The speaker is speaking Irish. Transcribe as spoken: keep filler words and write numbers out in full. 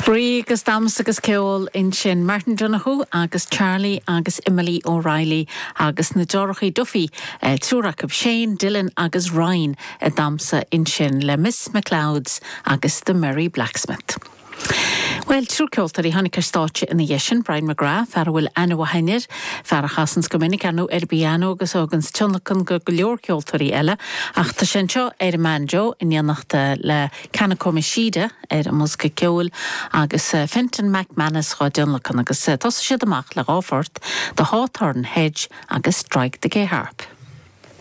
Spraoi agus damhsa agus ceol ansin Martin Donoghue agus Charlie agus Emily O'Reilly agus na deartháireacha Duffy eh, triúr acu Shane, Dylan agus Ryan ag damhsa ansin le Miss McLeod's agus the Merry Blacksmith. Well triúr ceoltóirí tháinig ar stáitse ina dhiaidh sin Brian McGrath fear a bhfuil aithne mhaith air, fear a chasann go minic ann ar pianó agus agus tionlacan go go leor ceoltóirí eile, ach tá sé anseo ar an mbanjo in éineacht le Kanako Mishida ar an mbosca ceoil agus eh, Fenton McManus á dtionlacan agus eh, thosaigh siad amach le dhá phort The Hawthorn Hedge agus Strike the Gay Harp.